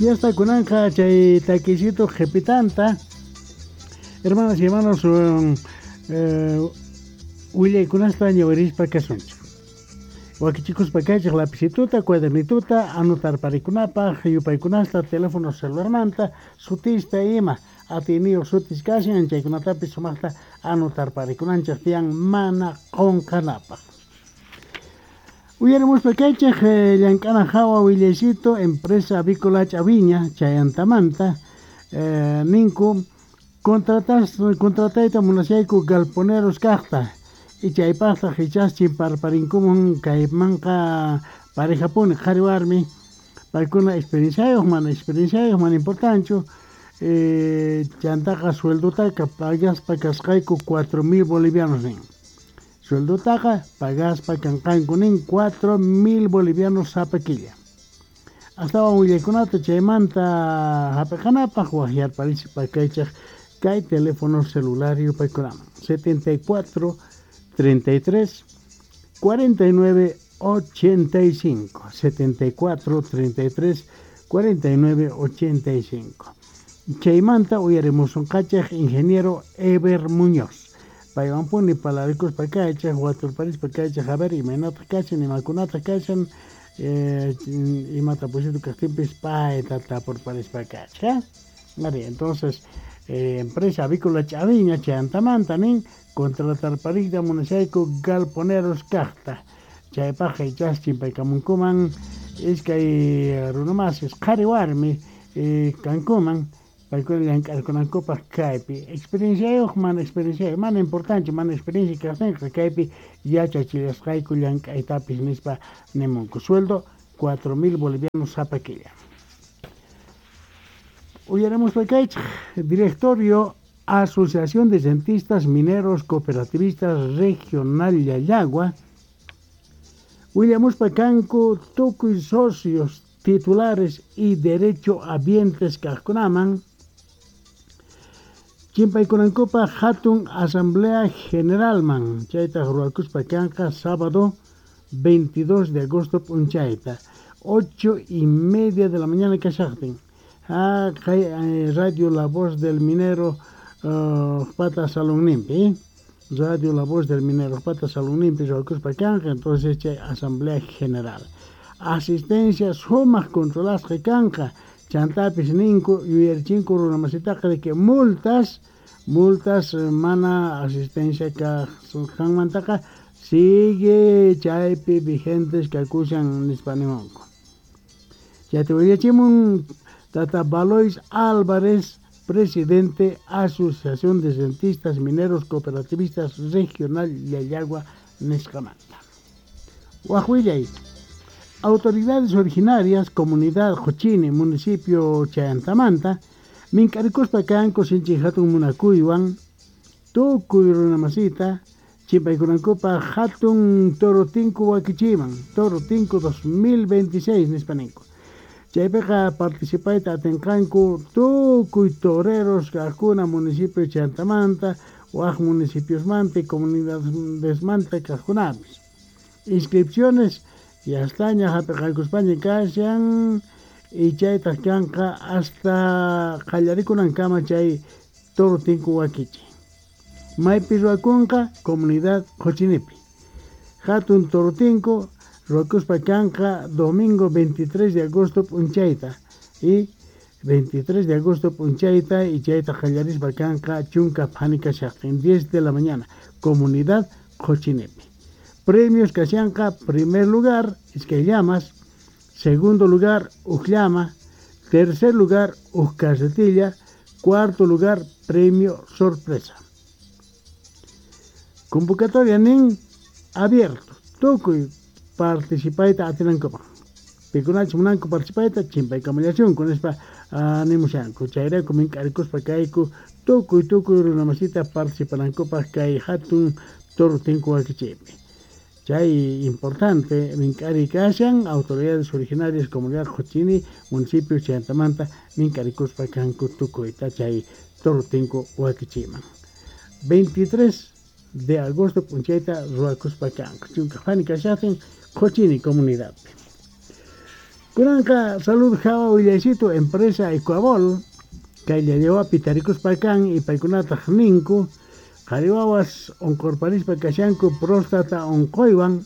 Ya está kunanqa chay takisito qhipitanta. Hermanas y hermanos, willaykunasta ñawirispa kasunchik. Wakichikuspa kaychik lapicituta, cuadernituta, anotarparikunapaq, yupaykunasta, teléfono celularmanta, sutista ima, atiyniyuq sutis kashan, chaykunatapis sumaqta anotarparikunanchik tiyan mana qunqanapaq. Uyarimuspa kaychik llank'ana hawa willaycito empresa avícola Chaviña chayantamanta ninku contratayta munashayku galponeros kaqta y chaypaqtaq ichas chimparparinkuman kaymanqa parejapuni qhari warmi paykuna experienciayuq mana experienciayuq mana importanchu chantaqa sueldotaka pagaspa kasqayku 4000 bolivianos nin. Sueldotaqa pagaspa kanqanku nin 4000 bolivianos sapa killa. Astawan willaykunata chaymanta hap'iqanapaq waqyarparispa kaychik kay teléfono celular yupaykunaman 74 33 49 85 74 33 49 85. Chaymanta uyarimusunqachik ingeniero Eber Muñoz. Paywanpuni palarikuspa kaychik waturparispa kaychik a ver imaynataq kashan imakunataq kashan imata pusito kaqtinpis payta tapurparispa kaychik. Ari, entonces empresa avícola Chaviña chayantamanta nin contratarparikta munashayku galponeros kaqta chaypaq ichas chimpaykamunkuman iskay runamasis qhari warmi kankuman paykuna llank'arkunankupaq kaypi experienciayuq mana experienciayuq mana importante mana experiencia kaqtinqa kaypi yachachillasqayku llank'aytapis nispa nimunku sueldo 4000 bolivianos sapa killa. Uyarimuspa kaychik directorio Asociación de Rentistas Mineros Cooperativistas Regional Llallagua willamuspa kanku tukuy socios titulares y derecho habientes kaqkunaman chimpaykunankupaq hatun asamblea generalman chaytaq ruwakuspa kanqa sábado 22 de agosto p'unchayta 8:30 de la mañana kashaqtin. Kay Radio La Voz del Minero pata salonninpi, Radio La Voz del Minero pata salonninpi ruwakuspa kanqa, entonces chay asamblea general. Asistencia sumaq controlasqa kanqa, chantapis ninku yuyarichinku runamasitaqa de que multas mana asistencia kaqmantaqa sigue chaypi vigentes kakushan nispa nimunku. Chayta willachimun Tata Balois Álvarez, presidente Asociación de Rentistas Mineros Cooperativistas Regional Llallagua nisqamanta. Waq willay. Autoridades originarias, comunidad Jochini, municipio Chayantamanta, mink'arikuspa kanku sinchi hatun munakuywan, tukuy runamasita, chimpaykunankupaq hatun Toro Tinku wakichiman, Toro Tinku 2026 nispa ninku. Chaypiqa participayta atinqanku tukuy toreros kaqkuna municipio Chayantamanta, waq municipiosmanta y comunidadesmanta kaqkunapis. Inscripciones ya estaña hap'iqaykuspaña kashan y chaytaq kanqa hasta qallarikunankama chay Toro Tinku wakichi. Maypi ruwakunqa comunidad Jochinipi. Hatun Toro Tinku ruwakuspa kanqa domingo 23 de agosto p'unchayta y 23 de agosto p'unchayta y chayta qallarispa kanqa chunka phani kashaqtin 10 de la mañana comunidad Jochinipi. Premios kashanqa primer lugar iskay llamas, segundo lugar uj llama, tercer lugar uj carretilla, cuarto lugar premio sorpresa. Convocatoria nin abierto, tukuy participayta atinankupaq. Pikunachus munanku participayta chimpaykamallachunku nispa nimushanku. Chayrayku mink'arikuspa kayku tukuy tukuy runamasita participanankupaq kay hatun Toro Tinku wakichiypi. Chay importante mink'ari kashan autoridades originarias comunidad Jochini municipio Chayantamanta mink'arikuspa kanku tukuyta chay Toro Tinku wakichiyman. 23 de agosto p'unchayta ruwakuspa kanku chunka phani kashaqtin Jochini comunidadpi. Kunanqa salud hawa willaysitu empresa Ecuabol kay llallawapi tarikuspa kan y paykunataq ninku qhari wawas unqurparispa kashanku próstata unquywan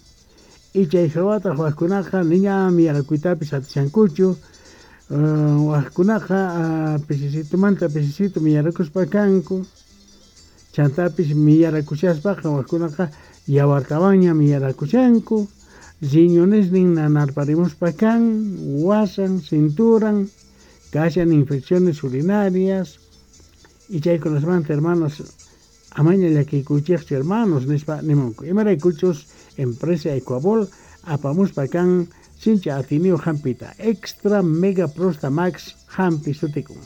y chay hawataq wakkunaqa niña miyarakuytapis atishankuchu wakkunaqa pisisitumanta pisisitu miyarakuspa kanku chantapis miyarakushaspaqa wakkunaqa yawartawanña miyarakushanku riñonesnin nanarparimuspa kan wasan cinturan kashan infecciones urinarias y chaykunasmanta hermanos amaña llakikuychikchu hermanos nispa nimunku imaraykuchus empresa Ecuabol apamuspa kan sinchi atiniyuq hampita extra mega prosta max hampi sutikun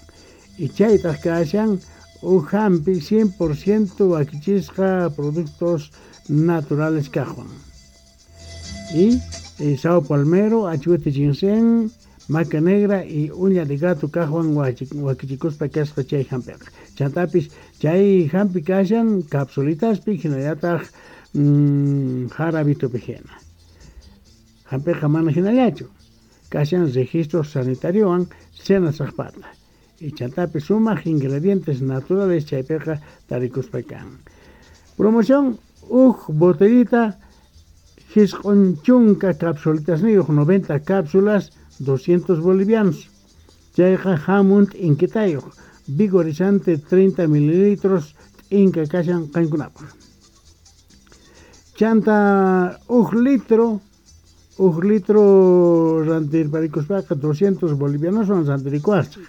y chaytaq kashan uj hampi 100% wakichisqa productos naturales kaqwan y sao palmero, achuete ginseng, maca negra y uña de gato kaqwan wakichikuspa kasqa chay hampiqa chantapis chay hampi kashan capsulitaspi hinallataq jarabitupi hina hampiqa mana hinallachu kashan registro sanitariowan SENASACpata y chantapis sumaq ingredientes naturales chaypiqa tarikuspa kan. Promoción uj botellita jisq'un chunka capsulitasniyuq 90 cápsulas 200 bolivianos chayqa hamun t'inkitayuq vigorizante 30 mililitros t'inka kashan qankunapaq chanta uj litro rantirparikuspaqa 200 bolivianoswan rantirikuwasaq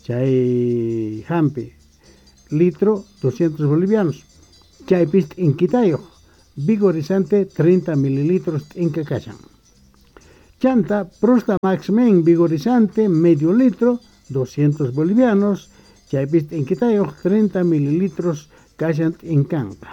chay hampi litro 200 bolivianos chaypis t'inkitayuq vigorizante 30 mililitros t'inka kashan chanta Prosta Max Men vigorizante medio litro 200 bolivianos chaypis t'inkitayuq 30 mililitros kashan t'inkanqa.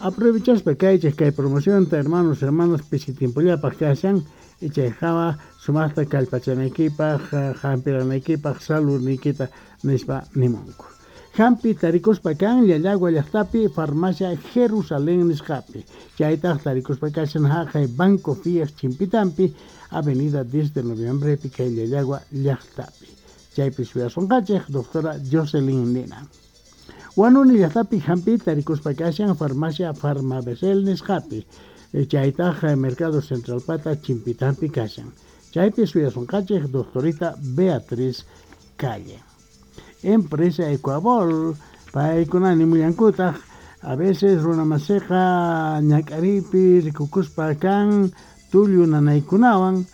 Aprovechaspa kaychik kay promocionta hermanos hermanas pisi tiempollapaq kashan y chay hawa sumaqta kallpachanaykipaq hampiranaykipaq saludniykita nispa nimunku. Hampi tarikuspa kan Llallagua llaqtapi farmacia Jerusalén nisqapi chaytaq tarikuspa kashan haqay Banco Fiat Chimpitampi avenida 10 de noviembre kay Llallagua llaqtapi chaypi suyasunqachik doctora Jocelyn Nina. Huanuni llaqtapi hampi tarikuspa kashan farmacia Farmabesel nisqapi chaytaq Mercado Central pata Chimpitampi kashan chaypi suyasunqachik doctorita Beatriz Calle. Empresa Ecuabol paykuna nimullankutaq a veces runamasiqa ñak'aripi rikukuspa kan tullu nanaykunawan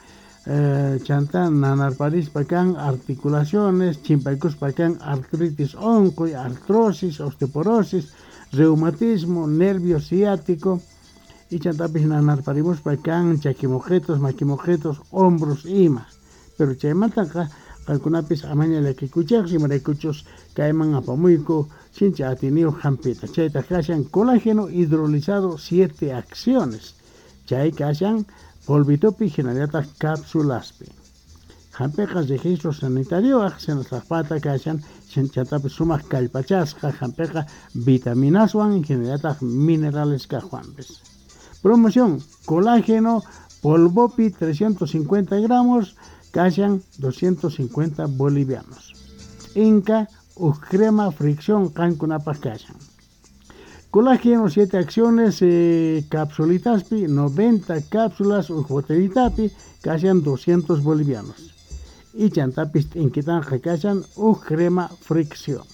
chanta nanarparispa kan articulaciones chimpaykuspa kan artritis unquy artrosis osteoporosis reumatismo nervio ciático y chantapis nanarparimuspa kan chakimuqitos makimuqitos hombros ima pero chaymantaqa qankunapis amaña llakikuychikchu imaraykuchus kayman apamuyku sinchi atiniyuq hampita chaytaq kashan colágeno hidrolizado 7 acciones chay kashan polvitopi hinallataq cápsulaspi hampiqa registro sanitarioaq SENASACpata kashan chantapis sumaq kallpachasqa hampiqa vitaminaswan hinallataq minerales kaqwanpis. Promoción colágeno polvopi 350 gramos kashan 250 bolivianos. Inca uj crema fricción qankunapaq kashan. Colágeno 7 acciones capsulitaspi 90 cápsulas uj botellitapi kashan 200 bolivianos. Y chantapis t'inkitanqa kashan uj crema fricción.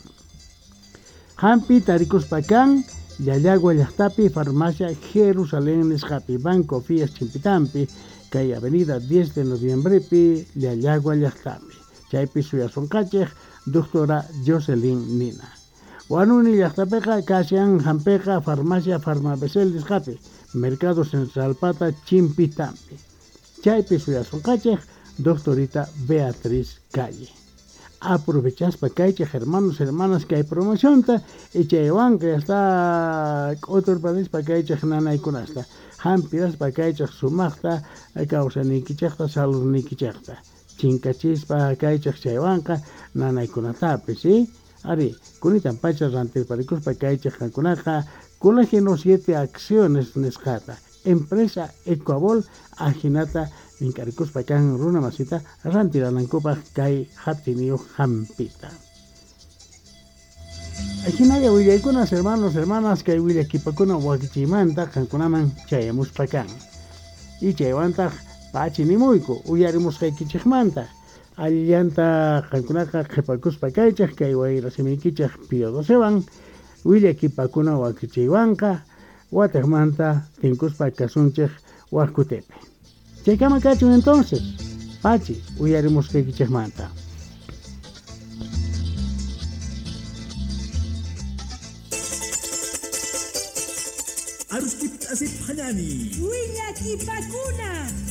Hampi tarikuspa kan Llallagua llaqtapi farmacia Jerusalén nisqapi Banco Fiat Chimpitampi kay avenida 10 de noviembrepi Llallagua llaqtapi chaypi suyasunqachik doctora Jocelyn Nina. Huanuni llaqtapiqa kashan hampiqa farmacia Farmabesel nisqapi Mercado Central pata Chimpitampi chaypi suyasunqachik doctorita Beatriz Calle. Aprovechaspa kaychik hermanos hermanas kay promocionta y chaywanqa ya está k'uturparispa kaychik nanaykunasta hampiraspa kaychik sumaqta kawsaniykichikta saludniykichikta chinkachispa kaychik chaywanqa nanaykunatapis ari kunitan pacha rantirparikuspa kaychik qankunaqa colágeno 7 acciones nisqata Empresa Ecuabol ajinata mink'arikuspa kan runa masita rantiranankupaq kay hatiniyuq hampita. Ajinalla willaykunas hermanos, hermanas, kay willakipakuna wakichiymanta qankunaman chayamuspa kan. Y chaywantaq pachi nimuyku uyarimusqaykichikmanta allillanta qankunaqa qhipakuspa kaychik kay wayrasimiykichik Pío Docewan willakipakuna wakichiywanqa watiqmanta tinkuspa kasunchik wak kutipi. Chaykama kachun entonces, pachi uyarimusqaykichikmanta. Arustip asip hanani. Willakipakuna.